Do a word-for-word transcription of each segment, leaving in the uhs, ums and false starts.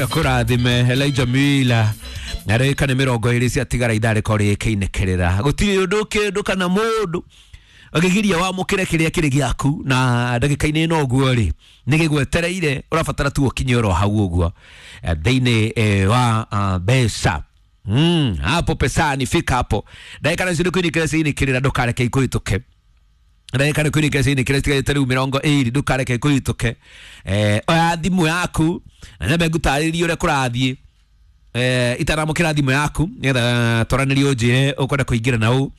Akũrathime Elijah Mila arĩka nĩ mĩrongo ĩrĩ ciatigara ithaa rĩkorwo rĩkĩinĩkĩrĩra gũtirĩ ũndũ kĩndũ kana mũndũ ũngĩgiria wamũkĩre kĩrĩa kĩrĩ gĩaku na ndagĩka-inĩ ĩno ũguo rĩ nĩ gĩgwetereire ũrabatara tu ũkinye oro hau ũguo thĩinĩ wa mbeca. Mm, hapo pesani fika hapo ndagĩka nacio nĩ kũinĩkĩra ciinĩkĩrĩra ndũkareke ikũhĩtũke ndagĩka nĩ kũinĩkĩra ciinĩkĩrĩra citigarĩte rĩu mĩrongo ĩrĩ ndũkareke ikũhĩtũke. Eh, oya thimũ yaku na nyambe ngũtarĩrie ũrĩa kũrathiĩ eh, itaramũkĩra thimũ yaku nĩgetha twaranĩrie ũnjĩre ũkwenda kũingĩra na ũ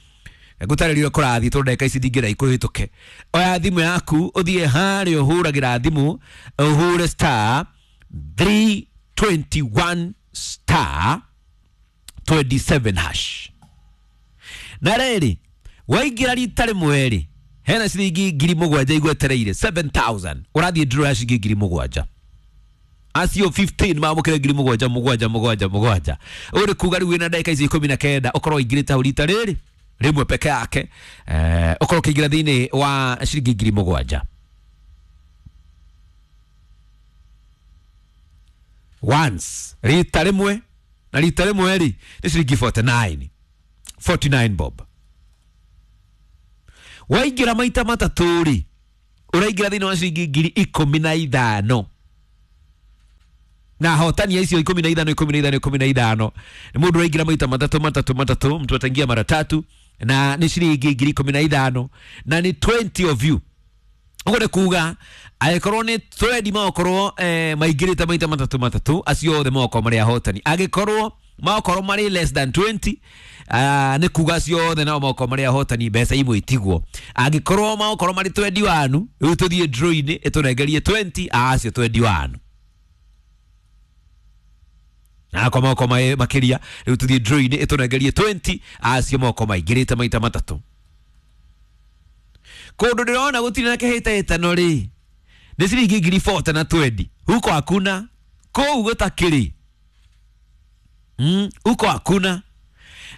ngũtarĩrie ũrĩa kũrathiĩ tondũ ndagĩka ici ndingĩra ikũhĩtũke. Oya thimũ yaku ũthiĩ harĩa ũhũragĩra thimũ ũhũre star three twenty-one star twenty-seven hash na rĩrĩ waingĩra rita rĩmwe rĩ hena ciringi ngiri mũgwanja igwetereire seven thousand ũrathiĩ draw ya ciringi ngiri mũgwanja acio fifteen mamũkĩre ngiri mũgwanja mũgwanja mũgwanja mũgwanja ũũ nĩ kuga rĩu wĩna ndagĩka ici ikũmi na kenda ũkorwo ũingĩrĩte hau rita rĩrĩ rĩmwe peke yake eh, ũkorwo ũkĩingĩra thĩinĩ wa ciringi ngiri mũgwanja once rita rĩmwe na rita rĩmwe rĩ nĩ ciringi forty-nine forty-nine bob waingĩra maita matatũ rĩ ũraingĩra thĩinĩ wa ciringi ngiri ikũmi na ithano na hotani icio ikũmi na ithano ikũmi na ithano ikũmi na ithano nĩ mũndũ ũraingĩra maita matatũ matatũ matatũ mtu ataingia mara tatu na nĩ ciringi ngiri ikũmi na ithano na nĩ twenty of you ũguo nĩ kuga angĩkorwo nĩ twenty magokorwo eh, maingĩrĩte maita matatũ matatũ acio othe magokorwo marĩ ahotani angĩkorwo magokorwo marĩ less than twenty uh, nĩ kuga acio othe nao magokorwo marĩ ahotani mbeca imwe itigwo angĩkorwo magokorwo marĩ twenty-one rĩu tũthiĩ draw-inĩ ĩtũnengerie twenty acio twenty-one na kwa magokorwo makĩria rĩu tũthiĩ draw-inĩ ĩtũnengerie twenty acio magokorwo maingĩrĩte maita matatũ kũndũ ndĩrona gũtirĩ na kĩhĩtahĩtano rĩ nĩ ciringi ngiri forty na twenty huko hakuna kũu gũtakĩrĩ mm, huko hakuna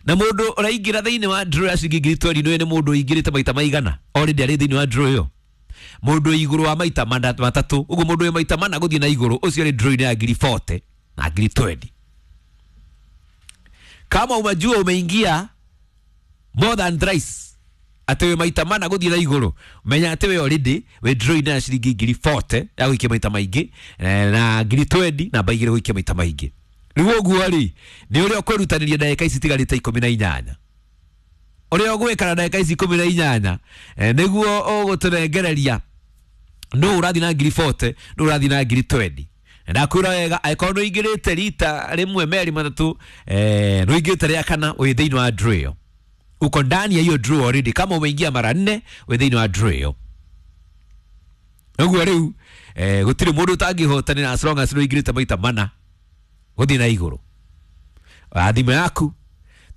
na mũndũ ũraingĩra thĩinĩ wa draw ya ciringi ngiri twenty nĩ mũndũ ũingĩrĩte maita maigana already arĩ thĩinĩ wa draw ĩyo mũndũ igũrũ wa maita matatũ ũguo mũndũ wĩ maita mana gũthiĩ na igũrũ ũcio arĩ draw-inĩ ya ngiri forty na ngiri twenty kama umajua umeingia more than thrice atĩ wĩ maita mana gũthiĩ na igũrũ menya atĩ we already wĩ draw-inĩ ya ciringi ngiri forty ya gũikia maita maingĩ na ngiri twenty namba igĩrĩ gũikia maita maingĩ rĩu ũguo rĩ nĩ ũrĩa ũkwĩrutanĩria ndagĩka ici itigarĩte ikũmi na inyanya ũrĩa ũgwĩka na ndagĩka ici ikũmi na inyanya nĩguo ũgũtũnengereria nũ ũrathiĩ na ngiri forty nũ ũrathiĩ na ngiri twenty ndakwĩra wega angĩkorwo nĩ ũingĩrĩte rita rĩmwe merĩ matatũ nĩ ũingĩrĩte rĩa kana wĩ thĩinĩ wa draw ĩyo uko ndani ya hiyo draw already kama umeingia mara nne wĩ thĩinĩ wa draw ĩyo ũguo rĩu eh, gũtirĩ mũndũ ũtangĩhotanĩra as long as nĩ ũingĩrĩte maita mana gũthiĩ na igũrũ oya thimũ yaku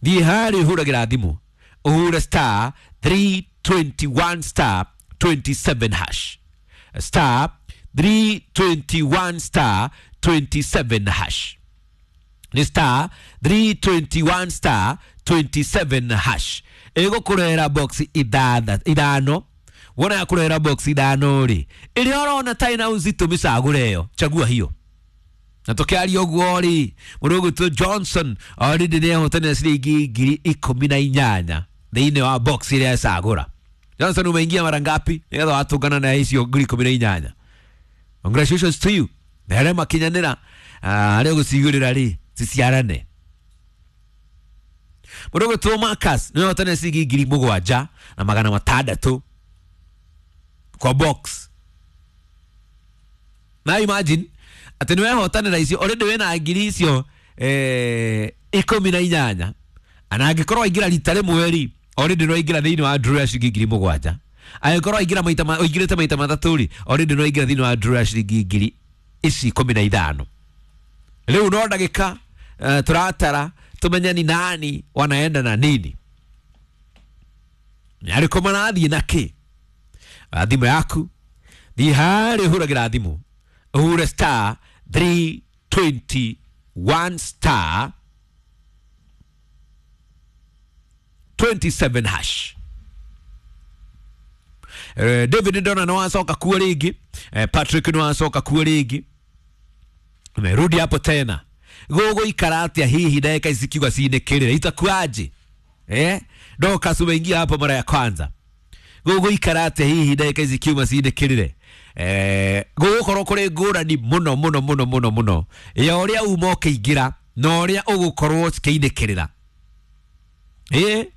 thiĩ harĩa ũhũragĩra thimũ ũhũre star three twenty-one star twenty-seven hash star three twenty-one star twenty-seven hash ni star three twenty-one star twenty-seven hash ĩgũkũrehera box ithano wona yakũrehera box ithano rĩ ĩrĩa ũrona ta ĩna ũzito mĩcagũre ĩyo chagua hiyo na tũkĩaria ũguo rĩ mũndũ ũgwĩtwo Johnson already nĩ ehotanĩra ciringi ngiri ikũmi na inyanya thĩinĩ wa box ĩrĩa ecagũra. Johnson umeingia mara ngapi nĩgetha watũngana na icio ngiri ikũmi na inyanya? Congratulations to you na arĩa makinyanĩra arĩa ũgũcigũrĩra rĩ ciciarane. Mũndũ ũgwĩtwo Marcus nĩ ehotanĩra ciringi ngiri mũgwanja na magana matandatũ kwa box na imagine atĩ nĩ wehotanĩra icio already wĩna ngiri icio eh, ikũmi na inyanya na angĩkorwo waingĩra rita rĩmwe rĩ already nĩ waingĩra thĩinĩ wa draw ya ciringi ngiri mũgwanja angĩkorwo waingĩra maita ũingĩrĩte maita matatũ rĩ already nĩ waingĩra thĩinĩ wa draw ya ciringi ngiri ici ikũmi na ithano rĩu no ndagĩka uh, tũratara tũmenye ni nani wanaenda na nini nĩ arĩkũ marathiĩ na kĩ. Thimũ yaku thiĩ harĩa ũhũragĩra thimũ ũhũre star three twenty-one star twenty-seven hash. Eh, David ndona no wacoka kuo rĩngĩ eh, Patrick no wacoka kuo rĩngĩ Umerudi hapo tena. Gũgũikara atĩa hihi ndagĩka ici kiuga cinĩkĩrĩre itakuaje? Eh? Dorcas umeingia hapo mara ya kwanza. Gũgũikara atĩa hihi ndagĩka ici kiuma cinĩkĩrĩre? Eh, gũgũkorwo kũrĩ ngũrani mũno mũno mũno mũno mũno ya ũrĩa uma ũkĩingĩra na ũrĩa ũgũkorwo cikĩinĩkĩrĩra. Eh,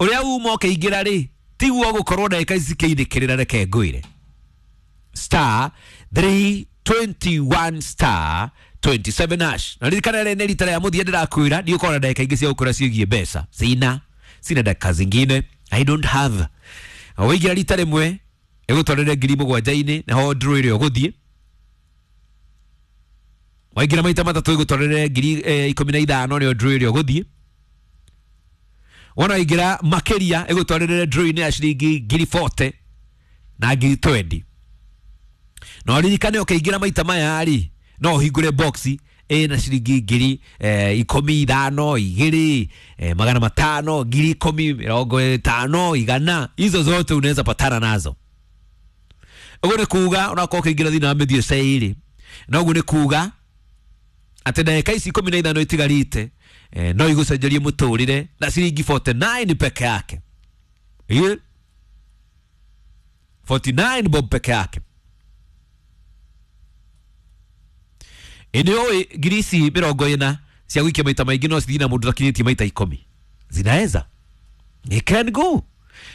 ũrĩa uma ũkĩingĩra rĩ tiguo ũgũkorwo ndagĩka ici cikĩinĩkĩrĩra, reke ngwĩre. Star three twenty-one star twenty-seven hash. Na ririkana rĩ nĩ rita rĩa mũthia ndĩrakwĩra ndiũkorwo na ndagĩka ingĩ cia gũkwĩra ciĩgiĩ mbeca. Sina sina dakika zingine, I don't have. Waingĩra rita rĩmwe ĩgũtwarĩre ngiri mũgwanja-inĩ naho draw ĩrĩa ũgũthiĩ. Waingĩra maita matatũ ĩgũtwarĩre ngiri eh, ikũmi na ithano nĩyo draw ĩrĩa ũgũthiĩ. Wona waingĩra makĩria ĩgũtwarĩre draw-inĩ ya ciringi ngiri forty na ngiri twenty. Na ũririkane ũkĩingĩra maita maya rĩ no ũhingũre box ĩna ciringi ngiri eh, ikũmi ithano igĩrĩ eh, magana matano ngiri ikũmi mĩrongo ĩtano igana, hizo zote unaweza patana nazo. Ũguo nĩ kuga onakorwo ũkĩingĩra thĩinĩ wa mĩthiĩ ceirĩ, na ũguo nĩ kuga atĩ ndagĩka ici ikũmi na ithano itigarĩte eh, no igũcenjerie mũtũrĩre na ciringi forty-nine peke yake. Ĩ forty-nine bob peke yake. Ĩndĩ ũĩ ngiri ici mĩrongo ĩna cia gũikia maita maingĩ no cithiĩ na mũndũ ũtakinyĩtie maita ikũmi. Zinaweza. It can go.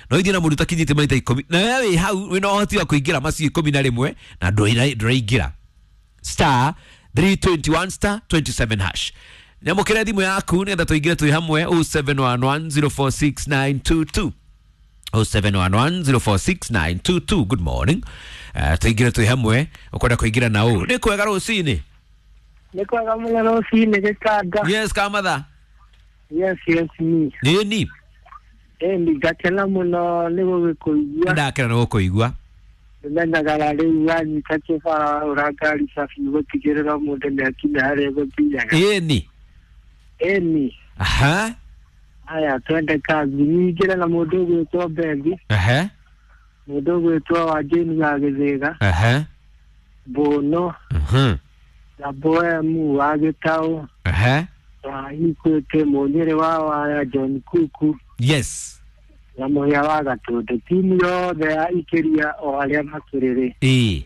No ithiĩ na mũndũ ũtakinyĩtie maita ikũmi. Na wewe wĩ hau wĩna ũhoti wa kũingĩra macio ikũmi na rĩmwe na ndũraingĩra. Star three twenty-one star twenty-seven hash. Nyamũkĩra thimũ yaku nĩgetha tũingĩre twĩ hamwe oh seven one one zero four six nine two two. oh seven one one zero four six nine two two. Good morning. Uh, tũingĩre twĩ hamwe ũkwenda kũingĩra na ũ. Nĩ kwega rũcinĩ. Nĩ kwega mũno rũcinĩ gĩkanga. Yes, kamatha. Yes, yes, ni. Nĩ ni. Ĩni ngakena mũno nĩ gũgĩkũigua. Ndakena nĩ gũkũigua. Nĩmenyaga rĩu wanyita kĩbara wahũra ngari cabi gũtigĩrĩra mũndũ nĩ akinya harĩa egũthiaga. Ĩni. Ĩni. Aha. Haya, twende kazi. Nyingĩre na mũndũ ũgwĩtwo Bethi. Aha. Mũndũ ũgwĩtwo wa Jane wa Gĩthĩga. Aha. Bono. Mhm. Na Boemu wa Gĩtaũ. Aha. Wa Ikwete Mũnyĩrĩ wa Waya John Kuku. Yes. Na Mũhĩa wa Gatũndũ. Timu yothe ya Ikĩria o arĩa makĩrĩrĩ. Ĩĩ.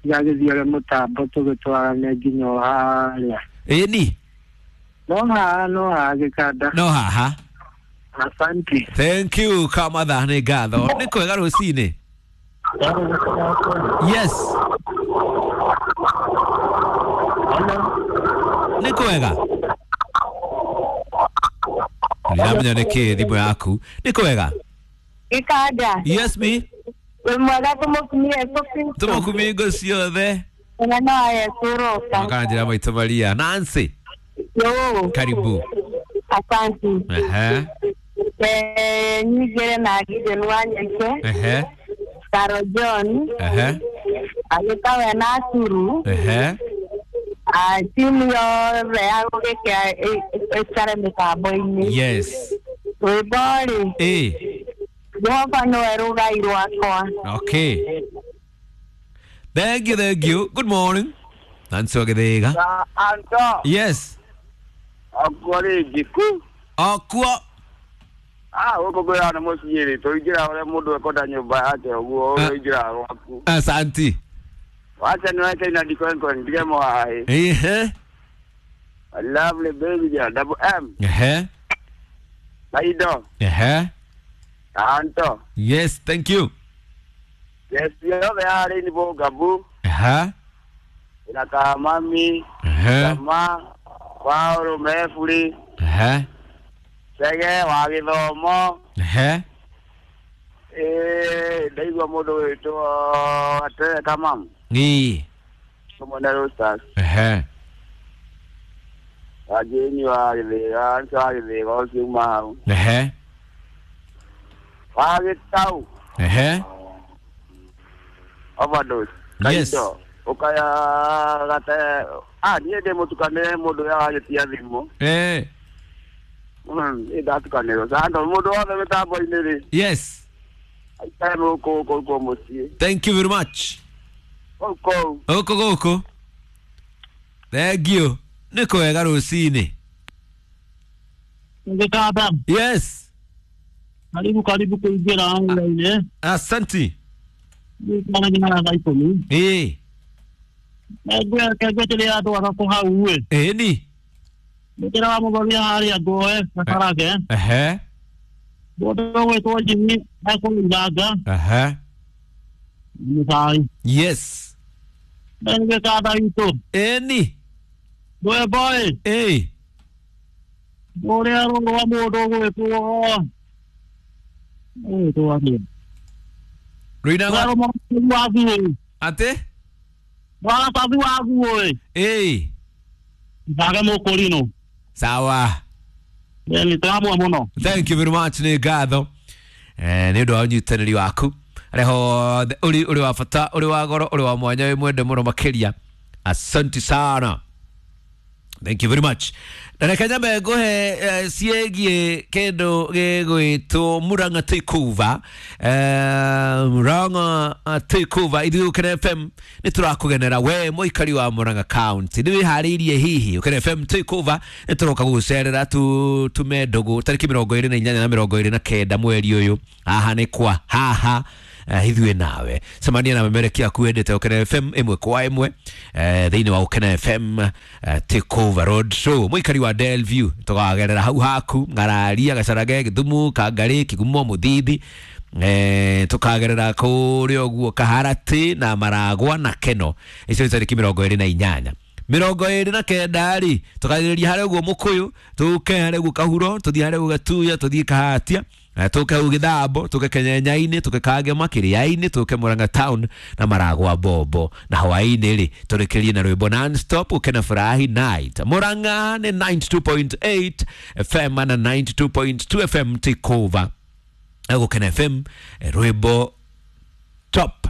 Gagĩthiĩ ũrĩa mũtambo tũgĩtwarane nginya o harĩa. Ĩni. No haha, no haha gĩkanda. No haha. Asante. Thank you kamatha, nĩ ngatho. Nĩ kwega rũcinĩ. Yes. Nĩ kwega. Ndiramenya nĩ kĩ thimũ yaku. Nĩ kwega. Gĩkanda. Yes me. Wĩ mwega tũmũkumie Yesu Kristo. Tũmũkumie hingo ciothe. Mwana wa Yesu ũroka. Makanjĩra maitũ Maria. Nancy. Yo. Karibu. Asante. Ehe. Eh, nyingĩre na Gideon wa Nyenke. Ehe. Caro John. Ehe. Agĩtawe na Aturu. Ehe. Ah, timu yothe ya gũgĩkĩa ĩikare mĩtambo-inĩ. Yes. Rwĩmbo rĩ. Ĩ. Jehova nĩwe rũgai rwakwa. Okay. Thank you, thank you. Good morning. Nancy wa Gĩthĩga. Anto. Yes. Okuo rĩngĩ ku. Okuo. Ah, gũkũ kwĩra nĩ mũciĩ rĩ, tũingĩra ũrĩa mũndũ ekwenda nyũmba yake ũguo ũingĩra gwaku. Asante. Wacha niwache ina dikonkon ndige mwae. Ehe. Lovely baby girl, double M. Ehe. Laido. Ehe. Anto. Yes, thank you. Yes, yothe yarĩ nĩ Bongabu. Ehe. Ina Kamami. Ehe. Kama Paulo Mefuri. Ehe. Chege wa gĩthomo. Ehe. Eh, ndaigua mũndũ wĩtwo Atere Kamamu. Ĩĩ. Tũmwene Roosters. Ehe. Wajeni wa Gĩthĩga, Anto wa Gĩthĩga ũcio uma hau. Ehe. Wa Gĩtau. Ehe. Overdose. Yes. Kaindo. Ũkaya gate. Ah, niĩ ndĩ mũtukanĩre mũndũ ũrĩa wagĩtia thimũ. Eh. Mm, niĩ ndatukanĩrwo. Sando mũndũ wothe mĩtambo-inĩ rĩ. Yes. Aikare gũkũ gũkũ gũkũ mũciĩ. Thank you very much. Gũkũ. Gũkũ gũkũ. Thank you. Nĩ kwega rũcinĩ. Ngĩkata. Yes. Karibu karibu kũingĩra wĩra-inĩ. Asanti. Nĩ nginya thaa ikũmi. Ĩĩ. Ngwetĩrĩra andũ atatũ hau ĩ. Ĩni. Nĩkĩra wa mũthoni harĩa ngoe gakarage. Ehe. Mũndũ ũgwĩtwo Jimmy ekũiranga. Ehe. Mũcai. Yes. Ngĩkata itũ. Ĩni. Rwĩmbo ĩ. Ĩĩ. Ũrĩa rwa mũndũ ũgwĩtwo ũgwĩtwo atĩa? Rũinagwo Rwa atĩ? Maratathi wa nguo ĩ. Ĩĩ. Njage mũkũrinũ. Sawa. Nĩ tũramwe mũno. Thank you very much nĩ ngatho eh, nĩ ũndũ wa ũnyitanĩri waku harĩa hothe ũrĩ ũrĩ wa bata ũrĩ wa goro ũrĩ wa mwanya wĩ mwende mũno makĩria. Asante sana. Thank you very much. Na reke nyambe ngũhe eh, ciĩgiĩ kĩndũ gĩgwĩtwo Murang'a Takeover. Eh, Murang'a Takeover ithuĩ Ũkena F M nĩ tũrakũgenera we mũikari wa Murang'a County. Nĩ wĩharĩirie hihi Ũkena F M Takeover nĩ tũroka gũgũcerera tu tume ndũgũ tarĩki mĩrongo ĩrĩ na inyanya na mĩrongo ĩrĩ na kenda mweri ũyũ. Haha nĩ kwa haha eh, ithuĩ nawe cemania na memereki aku wendete Ũkena F M ĩmwe kwa ĩmwe eh, thĩinĩ wa Ũkena F M eh, Takeover Road Show. Mũikari wa Delview tũkagerera hau haku Ng'araria Gacarage Gĩthumu Kangarĩ Kĩgumo Mũthithi eh, tũkagerera kũrĩa ũguo Kaharatĩ na Maragwa na Keno. Icio nĩ tarĩki mĩrongo ĩrĩ na inyanya mĩrongo ĩrĩ na kenda rĩ tũkagereria harĩa ũguo Mũkũyũ tũke harĩa ũguo Kahuro tũthiĩ harĩa ũguo Gatuya tũthiĩ Kahatia tũke hau Gĩthambo tũke Kenyenyainĩ tũke Kangema Kĩrĩainĩ tũke Murang'a Town na Maragwa Bombo na hwaĩ-inĩ rĩ tũrĩkĩrie na rwĩmbo non-stop Ũkena Furahi Night. Murang'a nĩ ninety-two point eight F M na ninety-two point two F M Takeover. Gũkena F M rwĩmbo top.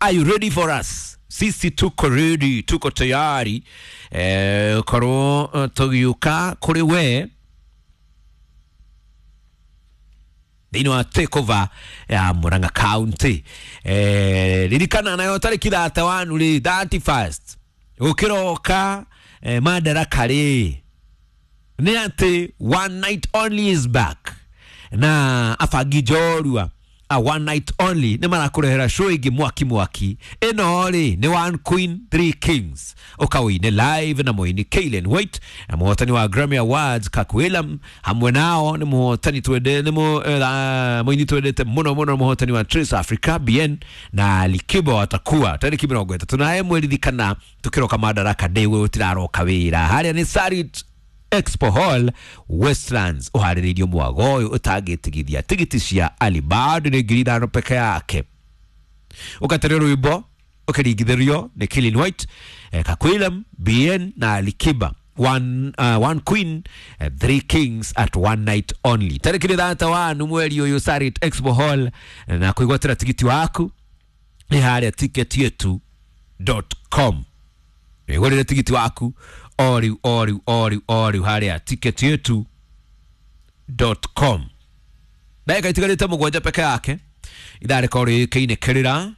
Are you ready for us? Sisi tuko ready, tuko tayari eh, korwo tũgiũka kũrĩ we thĩinĩ wa Takeover ya Murang'a County. Eh, ririkana nayo tarĩki thate wanu rĩ thirty-first gũkĩroka eh, Madaraka rĩ nĩ atĩ one night only is back na abangi njorua a one night only nĩ marakũrehera show ĩngĩ mwaki mwaki. Ĩno rĩ nĩ One Queen Three Kings ũkawĩine live na mũini Kaylen White na mũhotani wa Grammy Awards Kirk Whelan. Hamwe nao nĩ mũhotani twende nĩ mũini twendete mũno mũno mũhotani wa Trace Africa B N na Alikiba watakuwa tarĩki mĩrongo ĩtatũ na ĩmwe. Ririkana tũkĩroka Madaraka Day we ũtiraroka wĩra harĩa nĩ Sarit Expo Hall Westlands uharĩrĩirio mwago ũyũ ũtangĩtigithia tigiti cia Alibad nĩ ngiri ithano peke yake. Ũgaterio rwĩmbo ũkĩringithĩrio nĩ Kaylen White eh, Kakwilem B N na Alikiba. One, uh, one Queen uh, Three Kings at one night only tarĩki thata wanu mweri ũyũ Sarit Expo Hall na kwĩgwatĩra tigiti waku nĩ harĩa ticket yetu dot com. Wĩgũrĩre tigiti waku o rĩu o rĩu o rĩu o rĩu harĩa ticket yetu dot com. Ndagĩka itigarĩte mũgwanja peke yake ithaa rĩkorwo rĩkĩinĩkĩrĩra.